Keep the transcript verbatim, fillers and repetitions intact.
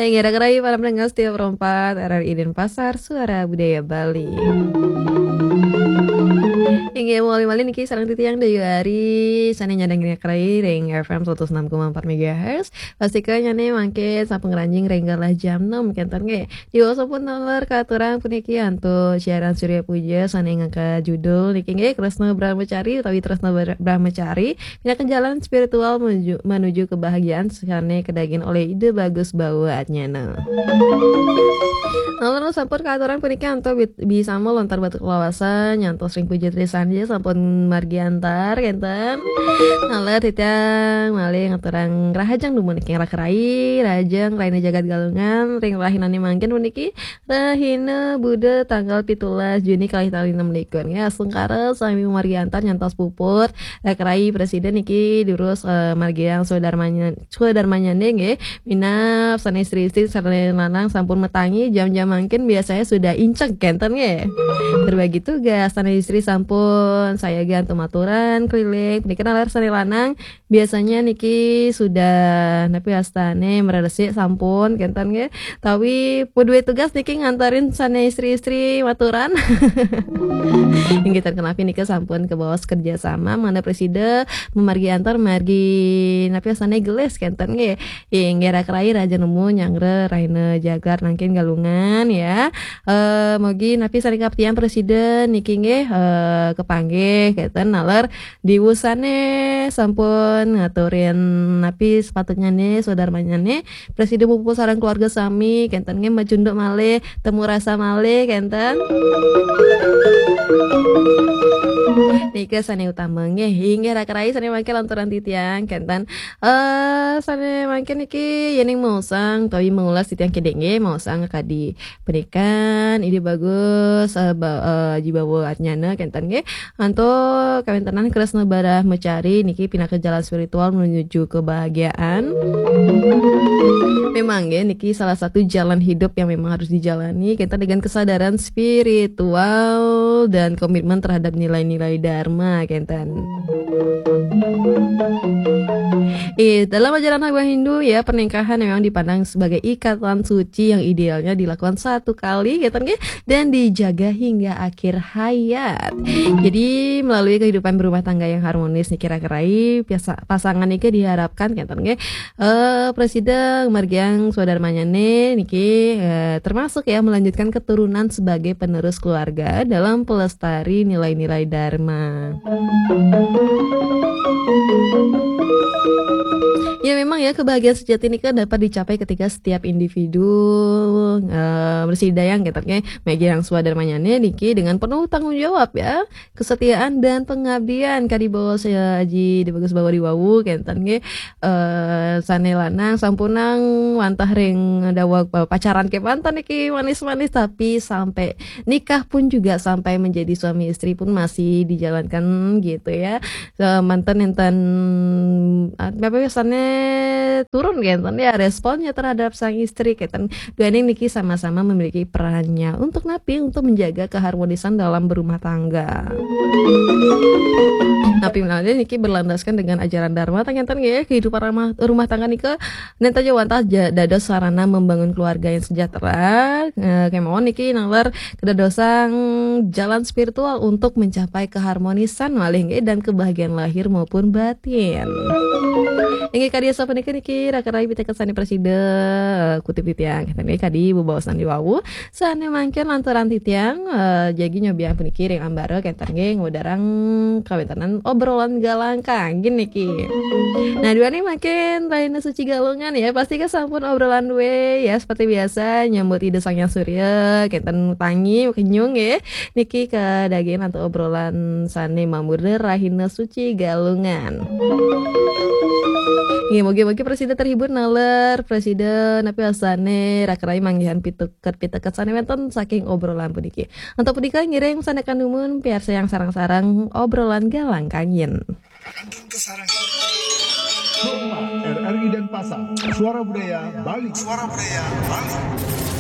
Inggih, raka rahayu para pendengar setia Pro empat R R I Denpasar, Suara Budaya Bali. Inggih, malih-malih niki sareng titiang Dayu Ari, sané nyandang raka rahayu ring F M seratus enam koma empat megahertz. Pastika nyané mangkin sampun ngranjing ring galah jam enam, kénten nggih. Diwasa pun taler katurang puniki antuk siaran Surya Puja sané ngangkat judul niki nggih Kresna Brahmacari utawi Tresna Bra-, Brahmacari, pinaka jalan spiritual menuju, menuju kebahagiaan sané kadagingin olih Ida Bagus Bawa Atnyana. Lalu sampun katurang puniki antuk bit-, bisama lontar batur kalawasan, nyantos ring puja trisanti sampun margi antar, kénten. Taler titiang malih ngaturang rahajeng dumun ring raka rahayu, rahajeng rahina jagat Galungan, ring rahinané mangkin puniki, rahina Buda tanggal pitulas Juni kalih tali enam likur. Ya, astungkara sami margi antar nyantos puput. Raka rahayu prasida niki durus, eh, margiang swadarmanya-, swadarmanyané nggih. Minab sané istri-istri, sané lanang sampun matangi, jam-jam mangkin biasanya sudah inceg kénten nggih. Berbagi tugas, sané istri sampun sayaga antuk maturan keliling. Punika taler sané lanang biasanya niki sudah napi wastané mreresik sampun kénten nggih. Tawi pun duwé tugas niki nganterin sané istri-istri maturan. Inggih, ten kenapi nika sampun kabaos kerja sama, mangda prasida mamargi antar margi napi wastané gelis kénten nggih. Inggih, raka rahayu rahajeng nemu nyanggra rahina jagat mangkin Galungan ya. Eh, mugi napi sané kapatihan prasida niki nggih, eh, kapanggih kénten taler diwasané sampun ngaturin napi sepatutnyané swadarmanyané, prasida muput sareng keluarga sami, kénten nggih macunduk malih, temu rasa malih, kénten. Nika sané utama nggih, inggih raka rahayu sané mangkin lanturang titiang, kénten. Eh, sané mangkin niki yéning maosang utawi maulas titiang kidik nggih, maosang kadi panikan, Ida Bagus, eh, ba-, eh, Aji Bawa Atnyana, kénten nggih. Antuk kawéntenan Kresna Brahmacari niki pinaka jalan spiritual menuju kebahagiaan. Memang nggih, niki salah satu jalan hidup yang memang harus dijalani, kénten, dengan kesadaran spiritual dan komitmen terhadap nilai-nilai dharma, kénten. Eh, dalam ajaran agama Hindu ya, pernikahan memang dipandang sebagai ikatan suci yang idealnya dilakukan satu kali, kénten nggih, dan dijaga hingga akhir hayat. Jadi, melalui kehidupan berumah tangga yang harmonis niki raka rahayu, piasa-, pasangan niki diharapkan, kénten nggih, eh, prasida margiang swadarmanyané niki, eh, termasuk ya melanjutkan keturunan sebagai penerus keluarga dalam pelestari nilai-nilai dharma. Ya, memang ya, kebahagiaan sejati nika dapat dicapai ketika setiap individu, eh, bersidayang gitu, oke, margiang swadarmanyané niki dengan penuh tanggung jawab ya, kesetiaan dan pengabdian. Kadi baos Aji Ida Bagus Bawa diwawu, kénten nggih, eh, sané lanang sampunang wantah ring daweg pacaran kémanten niki manis-manis, tapi sampai nikah pun juga sampai menjadi suami istri pun masih dijalankan gitu ya. Eh, manten nénten, eh, apa biasanya turun gitu ya responnya terhadap sang istri, kénten. Duaning niki sama-sama memiliki perannya untuk napi, untuk menjaga keharmonisan dalam berumah tangga. Napi menawi niki berlandaskan dengan ajaran dharma, ternyata nggih, kehidupan rumah, rumah tangga nika nénten ja wantah ja-, dados sarana membangun keluarga yang sejahtera. Eh, kemawon niki naler kedadosang jalan spiritual untuk mencapai keharmonisan malih nggih dan kebahagiaan lahir maupun batin. Inggih, kadi sapunika niki raka rahayu piteket sané prasida, eh, kutip titiang. Nggih, kadi bebaosan diwawu. Sané mangkin lanturang titiang, eh, jagi nyobiahang puniki ring ambara, kénten nggih ngudarang kawéntenan obrolan galangkang niki. Nah, duaning mangkin rahina suci Galungan ya, pasti kan sampun obrolan duwé ya, seperti biasa nyambut Ida Sang Hyang Surya, kénten tangi kenyung nggih. Niki kadagingin antuk obrolan sané mamurda rahina suci Galungan. Nggih, mugi-mugi prasida terhibur naler, prasida napi wastané raka rahayu manggihan piteket-piteket sané wénten saking obrolan puniki. Antuk punika ngiring sané kanumun piarsayang sareng-sareng obrolan galangkang. Suara Budaya Bali. Suara Budaya Bali.